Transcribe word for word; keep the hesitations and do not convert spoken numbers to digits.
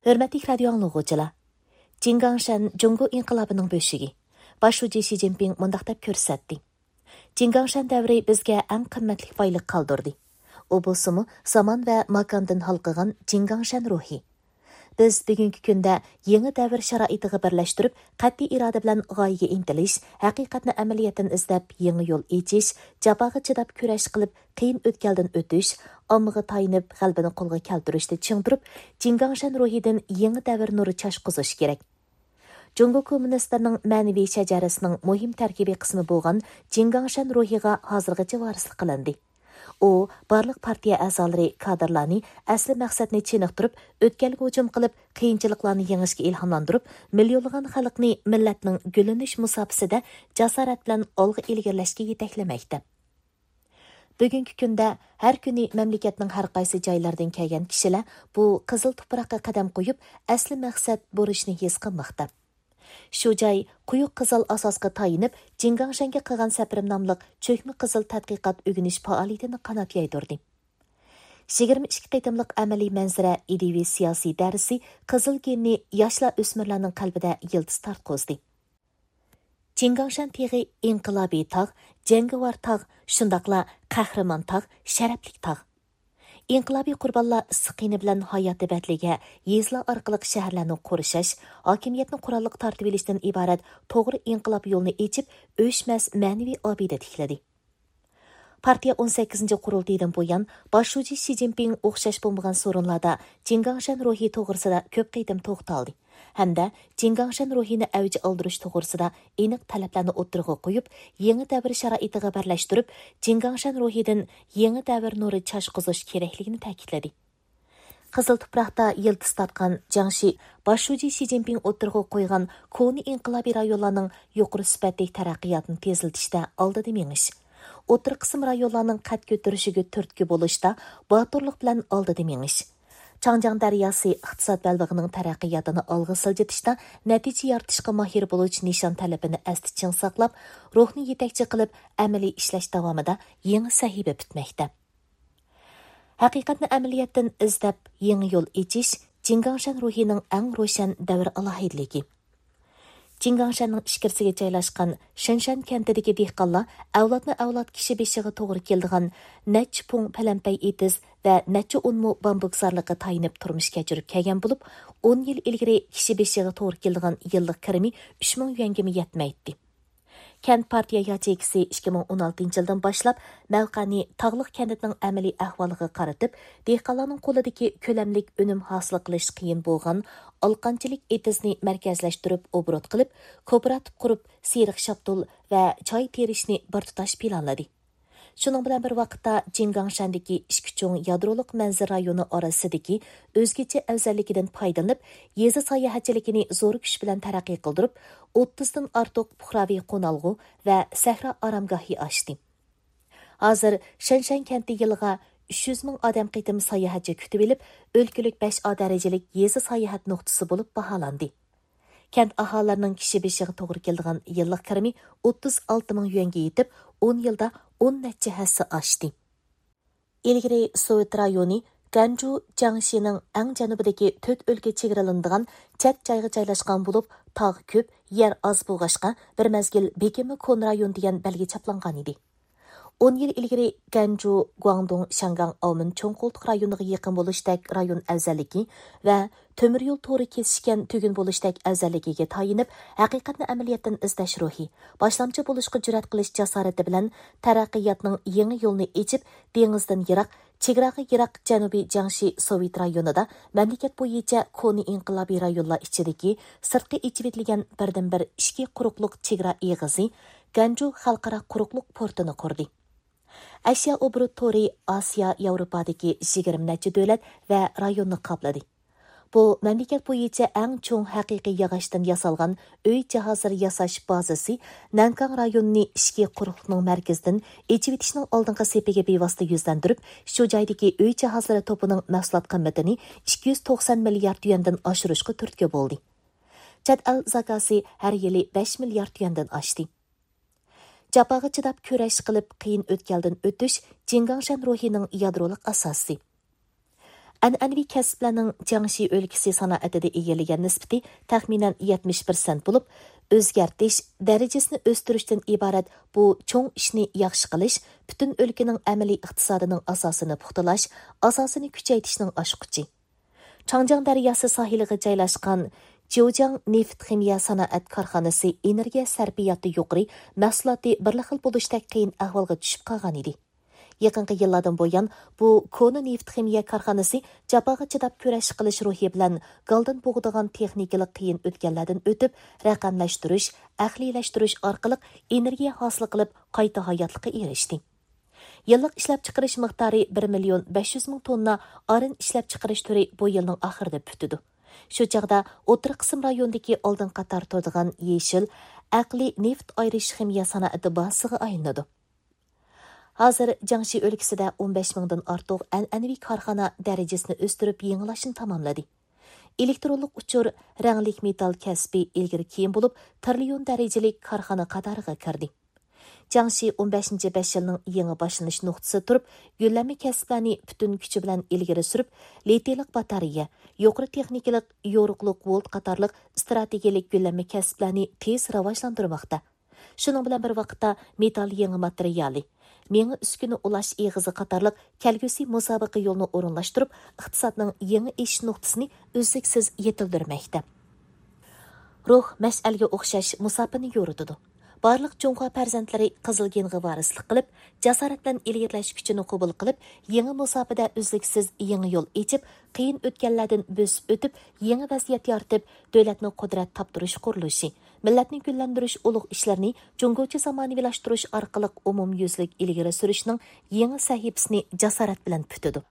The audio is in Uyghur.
ھۆرمەتلىك رادىيو ئاڭلىغۇچىلار! جىڭگاڭشەن جۇڭگو ئىنقىلابىنىڭ بۆشۈكى. باش شۇجى شى جىنپىڭ مۇنداق دەپ كۆرسەتتى: جىڭگاڭشەن دەۋرى بىزگە ئەڭ قىممەتلىك بايلىق قالدۇردى. ئۇ بولسىمۇ زامان ۋە ماكاندىن ھالقىغان جىڭگاڭشەن روھى. بىز بۈگۈنكى كۈندە يېڭى دەۋر شارائىتىغا بىرلەشتۈرۈپ، قەتئىي ئىرادە بىلەن غايىگە ئىنتىلىش، ھەقىقەتنى ئەمەلىيەتتىن ئىزدەپ يېڭى يول ئېچىش، جاپاغا چىداپ كۈرەش قىلىپ، قىيىن ئۆتكەلدىن ئۆتۈش، ئاممىغا تايىنىپ غەلىبىنى قولغا كەلتۈرۈشتە چىڭ تۇرۇپ، جىڭگاڭشەن روھىدىن يېڭى دەۋر نۇرى چاچقۇزۇش كېرەك. جۇڭگو كوممۇنىستلىرىنىڭ مەنىۋى شەجەرىسىنىڭ مۇھىم تەركىبىي قىسمى بولغان جىڭگاڭشەن روھىغا ھازىرغىچە ۋارىسلىق قىلىندى. ئۇ بارلىق پارتىيە ئەزالىرى، كادىرلارنى ئەسلى مەقسەتنى چېنىقتۇرۇپ، ئۆتكەلگە ھۇجۇم قىلىپ، قىيىنچىلىقلارنى يېڭىشكە ئىلھاملاندۇرۇپ، مىليونلىغان خەلقنى مىللەتنىڭ گۈللىنىش مۇساپىسىدە جاسارەت بىلەن ئالغا ئىلگىرىلەشكە يېتەكلىمەكتە. بۈگۈنكى كۈندە ھەر كۈنى مەملىكەتنىڭ ھەر قايسى جايلىرىدىن كەلگەن كىشىلەر بۇ قىزىل تۇپراققا قەدەم قويۇپ، ئەسلى مەقسەت بۇرچنى ھېس قىلماقتا. شۇ جاي قويۇق قىزىل ئاساسقا تايىنىپ، جىڭگاڭشەنگە قىلغان سەپىرىم ناملىق چۆكمە قىزىل تەتقىقات ئۆگىنىش پائالىيىتىنى قانات يايدۇردى. يىگىرمە ئىككى قېتىملىق ئەمەلىي مەنزىرە ئىدىيىۋى سىياسىي دەرسى قىزىل گېننى ياشلار، ئۆسمۈرلەرنىڭ قەلبىدە يىلتىز تارتقۇزدى. جىڭگاڭشەن تېغى ئىنقىلابىي تاغ، جەڭگىۋار تاغ، شۇنداقلا قەھرىمان تاغ، شەرەپلىك تاغ. ئىنقىلابىي قۇربانلار ئىسسىق قېنى بىلەن ھاياتى بەدىلىگە يېزىلار ئارقىلىق شەھەرلەرنى قورشاش، ھاكىمىيەتنى قوراللىق تارتىۋېلىشتىن ئىبارەت توغرا ئىنقىلاب يولىنى ئېچىپ، ئۆچمەس مەنىۋى ئابىدە تىكلىدى. پارتىيە ئون سەككىزىنچى قۇرۇلتىيىدىن بۇيان، باش شۇجى شى جىنپىڭ ئوخشاش بولمىغان سورۇنلاردا جىڭگاڭشەن روھى توغرىسىدا كۆپ قېتىم توختالدى ھەمدە جىڭگاڭشەن روھىنى ئەۋج ئالدۇرۇش توغرىسىدا ئېنىق تەلەپلەرنى ئوتتۇرىغا قويۇپ، يېڭى دەۋر شارائىتىغا بىرلەشتۈرۈپ، جىڭگاڭشەن روھىدىن يېڭى دەۋر نۇرى چاچقۇزۇش كېرەكلىكىنى تەكىتلىدى. قىزىل تۇپراقتا يىلتىز تارتقان جياڭشى باش شۇجى شى جىنپىڭ ئوتتۇرىغا قويغان كونا ئىنقىلابىي رايونلارنىڭ يۇقىرى سۈپەتلىك تەرەققىياتىنى تېزلىتىشتە ئالدىدا مېڭىش، ئوتتۇرا قىسىم رايونلارنىڭ قەد كۆتۈرۈشىگە تۈرتكە بولۇشتا باتۇرلۇق بىلەن ئالدىدا مېڭىش، چاڭجياڭ دەرياسى ئىقتىساد بەلبېغىنىڭ تەرەققىياتىنى ئالغا سىلجىتىشتا نەتىجە يارىتىشقا ماھىر بولۇش نىشان تەلىپىنى ئەستە چىڭ ساقلاپ، روھنى يېتەكچى قىلىپ ئەمەلىي ئىشلەش داۋامىدا يېڭى سەھىپە پۈتمەكتە. ھەقىقەتنى ئەمەلىيەتتىن ئىزدەپ، يېڭى يول ئېچىش جىڭگاڭشەن روھىنىڭ ئەڭ روشەن دەۋر ئالاھىدىلىكى. جىڭگاڭشەننىڭ ئىچكىرىسىگە جايلاشقان شېنشەن كەنتىدىكى دېھقانلار ئەۋلادمۇ ئەۋلاد كىشى بېشىغا توغرا كېلىدىغان نەچچە پۇڭ پەلەمپەي ئېتىز ۋە نەچچە ئون مو بامبۇك زارلىققا تايىنىپ تۇرمۇش كەچۈرۈپ كەلگەن بولۇپ، ئون يىل ئىلگىرى كىشى بېشىغا توغرا كېلىدىغان يىللىق كىرىمى ئۈچ مىڭ يۈەنگىمۇ يەتمەيتتى. كەنت پارتىيە ياچېيكىسى ئىككى مىڭ ئون ئالتىنچى يىلدىن باشلاپ مەۋقەنى تاغلىق كەنتنىڭ ئەمەلىي ئەھۋالىغا قارىتىپ، دېھقانلارنىڭ قولىدىكى كۆلەملىك ئۈنۈم ھاسىل قىلىش قىيىن بولغان ئالقانچىلىك ئېتىزنى مەركەزلەشتۈرۈپ ئوبوروت قىلىپ، كوپىراتىپ قۇرۇپ، سېرىق شاپتۇل ۋە چاي تېرىشنى بىر تۇتاش پىلانلىدى. شۇنىڭ بىلەن بىر ۋاقىتتا، جىڭگاڭشەندىكى ئىككى چوڭ يادرولۇق مەنزىرە رايونى ئارىسىدىكى ئۆزگىچە ئەۋزەللىكىدىن پايدىلىنىپ، يېزا ساياھەتچىلىكىنى زور كۈچ بىلەن تەرەققىي قىلدۇرۇپ، ئوتتۇزدىن ئارتۇق پۇقراۋى قونالغۇ ۋە سەھرا ئارامگاھى ئاچتى. ھازىر شەنشەن كەنتى يىلىغا ئۈچ يۈز مىڭ ئادەم قېتىم ساياھەتچى كۈتۈۋېلىپ، ئۆلكىلىك بەش ئا دەرىجىلىك يېزا ساياھەت نۇقتىسى بولۇپ باھالاندى. كەنت ئاھالىلىرىنىڭ كىشى بېشىغا توغرا كېلىدىغان يىللىق كىرىمى ئوتتۇز ئالتە مىڭ يۈەنگە يېتىپ، ئون يىلدا ئون نەچچە ھەسسە ئاشتى. ئىلگىرى سوۋېت رايونى گەنجۇ جياڭشىنىڭ ئەڭ جەنۇبىدىكى تۆت ئۆلكە چېگرىلىنىدىغان چەت جايغا جايلاشقان بولۇپ، تاغ كۆپ، يەر ئاز بولغاچقا، بىر مەزگىل بېكىنمە كونا رايون دېگەن بەلگە چاپلانغانىدى. ئون يىل ئىلگىرى گەنجۇ، گۇاڭدۇڭ، شياڭگاڭ، ئاۋمېن چوڭ قولتۇق رايونىغا يېقىن بولۇشتەك رايون ئەۋزەللىكى ۋە تۆمۈر يول تورى كېسىشكەن تۈگۈن بولۇشتەك ئەۋزەللىكىگە تايىنىپ، ھەقىقەتنى ئەمەلىيەتتىن ئىزدەش روھى، باشلامچى بولۇشقا جۈرئەت قىلىش جاسارىتى بىلەن تەرەققىياتنىڭ يېڭى يولىنى ئېچىپ، دېڭىزدىن يىراق، چېگراغا يىراق جەنۇبىي جياڭشى سوۋېت رايونىدا مەملىكەت بويىچە كونا ئىنقىلابىي رايونلار ئىچىدىكى سىرتقا ئېچىۋېتىلگەن بىردىنبىر ئىچكى قۇرۇقلۇق چېگرا ئېغىزى، گەنجۇ خەلقئارا قۇرۇقلۇق پورتىنى قۇردى. ئەشيا ئوبوروت تورى ئاسىيا، ياۋروپادىكى يىگىرمە نەچچە دۆلەت ۋە رايوننى قاپلىدى. بۇ مەملىكەت بويىچە ئەڭ چوڭ ھەقىقىي ياغاچتىن ياسالغان ئۆي جاھازلىرى ياساش بازىسى نەنكاڭ رايونىنى ئىچكى قۇرۇقلۇقنىڭ مەركىزىدىن ئېچىۋېتىشنىڭ ئالدىنقى سېپىگە بىۋاسىتە يۈزلەندۈرۈپ، شۇ جايدىكى ئۆي جاھازلىرى توپىنىڭ مەھسۇلات قىممىتىنى ئىككى يۈز توقسان مىليارد يۈەندىن ئاشۇرۇشقا تۈرتكە بولدى. چەت ئەل زاكازى ھەر يىلى بەش مىليارد يۈەندىن ئاشتى. جاپاغا چىداپ كۈرەش قىلىپ، قىيىن ئۆتكەلدىن ئۆتۈش جىڭگاڭشەن روھىنىڭ يادرولۇق ئاساسى. ئەنئەنىۋى كەسىپلەرنىڭ جياڭشى ئۆلكىسى سانائىتىدە ئىگىلىگەن نىسبىتى تەخمىنەن يەتمىش پىرسەنت بولۇپ، ئۆزگەرتىش، دەرىجىسىنى ئۆستۈرۈشتىن ئىبارەت بۇ چوڭ ئىشنى ياخشى قىلىش پۈتۈن ئۆلكىنىڭ ئەمەلىي ئىقتىسادىنىڭ ئاساسىنى پۇختىلاش، ئاساسىنى كۈچەيتىشنىڭ ئاچقۇچى. چاڭجياڭ دەرياسى ساھىلىغا جايلاشقان جيۇجياڭ نېفىت خىمىيە سانائەت كارخانىسى ئېنېرگىيە سەرپىياتى يۇقىرى، مەھسۇلاتى بىرلا خىل بولۇشتەك قىيىن ئەھۋالغا چۈشۈپ قالغان ئىدى. يېقىنقى يىللاردىن بۇيان، بۇ كونا نېفىت خىمىيە كارخانىسى جاپاغا چىداپ كۈرەش قىلىش روھى بىلەن گالدىن بوغىدىغان تېخنىكىلىق قىيىن ئۆتكەللەردىن ئۆتۈپ، رەقەملەشتۈرۈش، ئەقلىيلەشتۈرۈش ئارقىلىق ئېنېرگىيە ھاسىل قىلىپ، قايتا ھاياتلىققا ئېرىشتى. يىللىق ئىشلەپچىقىرىش مىقدارى بىر مىليون بەش يۈز مىڭ توننا ئاران ئىشلەپچىقىرىش تۈرى بۇ يىلنىڭ ئاخىرىدا پۈتىدۇ. شۇ چاغدا ئوتتۇرا قىسىم رايونىدىكى ئالدىنقى قاتاردا تۇرىدىغان يېشىل، ئەقلىي نېفىت ئايرىش خىمىيە سانائىتى بازىسىغا ئايلىنىدۇ. ھازىر جياڭشى ئۆلكىسىدە ئون بەش مىڭدىن ئارتۇق ئەنئەنىۋى كارخانا دەرىجىسىنى ئۆستۈرۈپ يېڭىلاشنى تاماملىدى. ئېلېكترونلۇق ئۇچۇر، رەڭلىك مېتال كەسپى ئىلگىرى كېيىن بولۇپ، تىرىليون دەرىجىلىك كارخانا قاتارىغا كىردى. جياڭشى ئون بەشىنچى بەش يىلنىڭ يېڭى باشلىنىش نۇقتىسىدا تۇرۇپ، يۆلەنمە كەسىپلەرنى پۈتۈن كۈچى بىلەن ئىلگىرى سۈرۈپ، لىتىيلىق باتارېيە، يۇقىرى تېخنىكىلىق يورۇقلۇق ۋولت قاتارلىق ئىستراتېگىيەلىك يۆلەنمە كەسىپلەرنى تېز راۋاجلاندۇرماقتا. شۇنىڭ بىلەن بىر ۋاقىتتا، مېتال يېڭى ماتېرىيالى، مېڭە ئۈسكۈنە ئۇلاش ئېغىزى قاتارلىق كەلگۈسى مۇسابىقە يولىنى ئورۇنلاشتۇرۇپ، ئىقتىسادنىڭ يېڭى ئېشىش نۇقتىسىنى ئۈزلۈكسىز يېتىلدۈرمەكتە. روھ مەشئەلگە ئوخشاش مۇساپىنى يورۇتىدۇ. بارلىق جۇڭخۇا پەرزەنتلىرى قىزىل گېنغا ۋارىسلىق قىلىپ، جاسارەت بىلەن ئىلگىرىلەش كۈچىنى قوبۇل قىلىپ، يېڭى مۇساپىدە ئۈزلۈكسىز يېڭى يول ئېچىپ، قىيىن ئۆتكەللەردىن بۆسۈپ ئۆتۈپ، يېڭى ۋەزىيەت يارىتىپ، دۆلەتنى قۇدرەت تاپتۇرۇش قۇرۇلۇشى، مىللەتنى گۈللەندۈرۈش ئۇلۇغ ئىشلىرىنى جۇڭگوچە زامانىۋىلاشتۇرۇش ئارقىلىق ئومۇميۈزلۈك ئىلگىرى سۈرۈشنىڭ يېڭى سەھىپىسىنى جاسارەت بىلەن پۈتىدۇ.